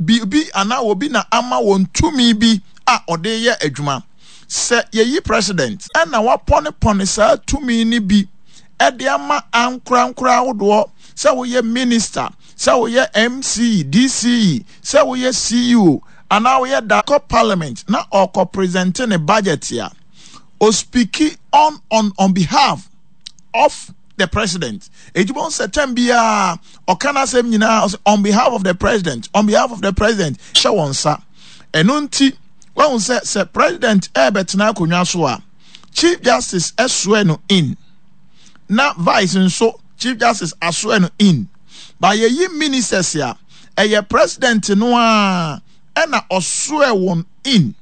biribi anaa obi na ama wɔn tumi bi a ɔde yɛ adwuma. Sɛ yɛyi president ɛna wapɔnepɔne saa tumi no bi de ama ankorankoro ahodoɔ sɛ woyɛ minister, sɛ woyɛ MCE, DCE, sɛ woyɛ CEO anaa woyɛ da kɔ parliament na ɔkɔ presente ne budget a, ɔspiki on behalf of the president. Eti bɔn sɛ tɛm biara ɔka n'asɛm nyinaa ɔsɛ on behalf of the president, on behalf of the president hyɛ wɔn nsa. Ɛno nti wɔn sɛ president ɛrebɛtena akonnwa so a, Chief Justice ɛsoɛ no in, na vice nso Chief Justice asoɛ no in. Ba yɛyi ministers a, ɛyɛ president no a ɛna ɔsoɛ wɔn in.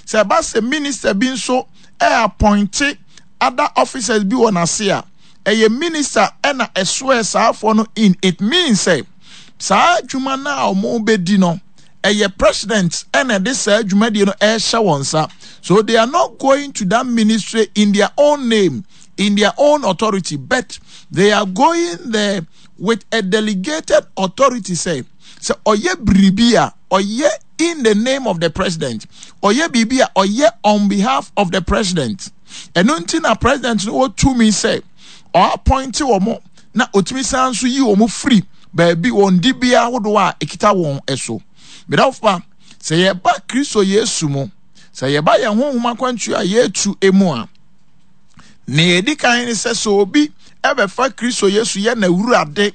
Sɛ ɛba sɛ minister bi nso ɛappointe other officers bi wɔ n'ase a, ɛyɛ minister ɛna ɛsoɛ saafoɔ no in. It means sɛ saa adwuma no a wɔn bɛdi no, ɛyɛ president ɛna ɛde saa dwumadie no ɛrehyɛ wɔn nsa. So they are not going to that ministry in their own name, in their own authority, but they are going there with a delegated authority. Say, sɛ ɔyɛ biribi a ɔyɛ in the name of the president, ɔyɛ biribi a ɔyɛ on behalf of the president. Ɛno nti na president no wɔ tumi sɛ ɔappointe wɔn na otumi san nso yi wɔn firi baabi wɔn dibea ahodoɔ a ekita wɔn so. Medafo, sɛ yɛba Kristo Yesu mu, sɛ yɛba yɛn honhom akwantuo a yɛretu mu a, nea edi kan ne sɛ obi ɛbɛfa Kristo Yesu yɛ n'awurade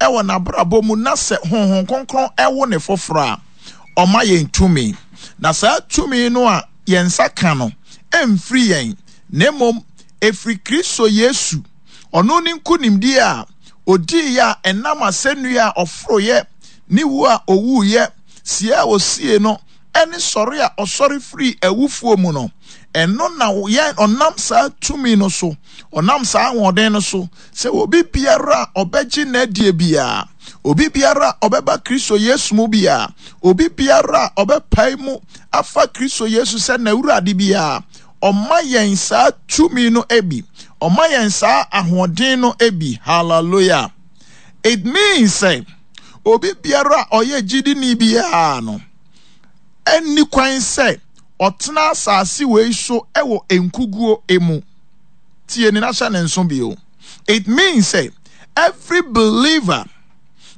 ɛwɔ n'abrabɔ mu na sɛ Honhom Kronkron ɛwo ne foforɔ a, ɔma yɛn tumi. Na saa tumi no a yɛn nsa ka no ɛmfiri yɛn, na mmom ɛfiri Kristo Yesu. Ɔno ne nkonimdie a odiiɛ a ɛnam asɛnnua a ɔforoeɛ, ne wu a owuiɛ, sie a osie no, ɛne sɔre a ɔsɔre firi awufoɔ mu no. Ɛno na yɛn ɔnam saa tumi no so, ɔnam saa ahoɔden no so, sɛ obi biara a ɔbɛgye n'adie biara, obi biara a ɔbɛba Kristo Yesu mu biara, obi biara a ɔbɛpae mu afa Kristo Yesu sɛ n'awurade biara, ɔma yɛn saa tumi no bi, ɔma yɛn saa ahoɔden no bi. Hallelujah. It means sɛ obi biara a ɔyɛ gyidini biara no ɛnni kwan sɛ ɔtena asase wei so ɛwɔ nkuguo emu. Tie ne n'ahyɛ ne nso bio. It means sɛ every believer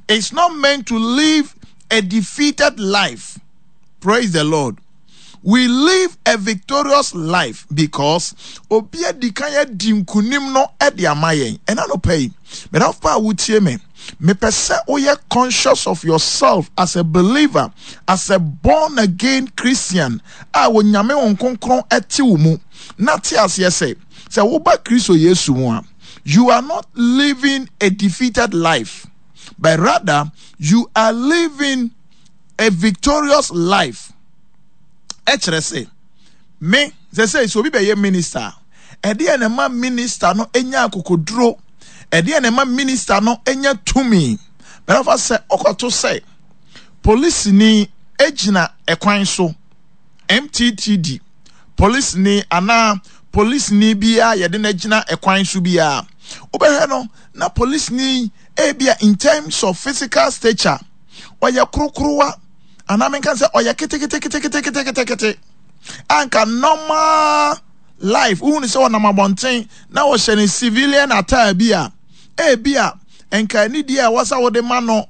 is not meant to live a defeated life. Praise the Lord. We live a victorious life because obi adi kan adi nkunim no de ama yɛn. Ɛna no pɛ yi, medafo pa a wotie me, mepɛ sɛ woyɛ conscious of yourself as a believer, as a born again Christian a Onyame wo Kronkron ɛte wo mu. Na te aseɛ sɛ woba Kristo Yesu mu a, you are not living a defeated life, but rather you are living a victorious life. Ɛkyerɛ sɛ me sɛ obi bɛyɛ minister, ɛdeɛ na ɛma minister no nya akokoduro, ɛdeɛ na ɛma minister no nya tumi. Bɛrɛfa sɛ ɔkɔto sɛ polisini gyina ɛkwan so, MTTD polisini anaa polisini biara yɛde no gyina ɛkwan so biara, wobɛhwɛ no na polisini ebia in terms of physical stature ɔyɛ korokorowa, anaa menka sɛ ɔyɛ keteketeketeketekete anka normal life wohu ne sɛ ɔnam abɔnten na ɔhyɛ ne civilian attire bi a, ebi a nka anidie a ɛwɔ sɛ wode ma no,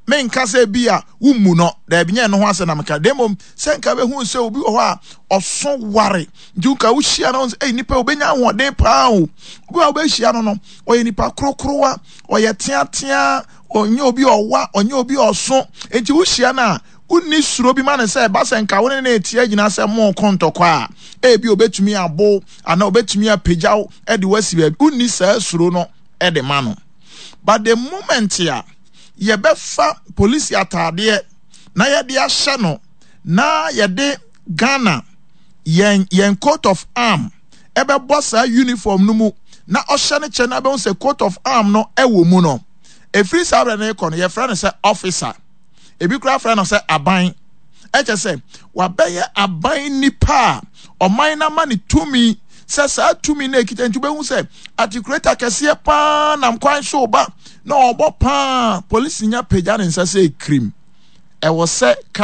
menka sɛ bi a wommu no, daabi, nyɛ no ho asɛ na meka, na mmom sɛ nka bɛhu sɛ obi wɔ hɔ a ɔso ware, nti nka wohyia no sɛ nipa obɛnya ahoɔden paa o. Obi a wobɛhyia no, ɔyɛ nipa korokorowa, ɔyɛ teatea, ɔnyɛ obi ɔwa, ɔnyɛ obi ɔso, nti wohyia no a wonni suro bi ma no sɛ ɛba sɛ nka wo ne ne tia gyina sɛ mo ko ntɔkwa a, ebi obɛtumi abo anaa obɛtumi apagya wo de wasi baabi. Wonni saa suro no de ma no. But the moment a yɛbɛfa polisi ataadeɛ na yɛde ahyɛ no na yɛde Ghana yɛn coat of arm ɛbɛbɔ saa uniform no mu na ɔhyɛ no kyɛ na bɛhu sɛ coat of arm no ɛwɔ mu no, ɛfiri saa berɛ no rekɔ no, yɛfrɛ no sɛ officer, ebi koraa frɛ no sɛ aban. Ɛkyɛ sɛ wabɛyɛ aban nipa a ɔman no ama ne tumi sɛ saa tumi no ekita. Nti wobɛhu sɛ articulator kɛseɛ paa nam kwan so ba na ɔbɔ paa, polisi nya pagya ne nsa sɛ kirim ɛwɔ sɛ ka.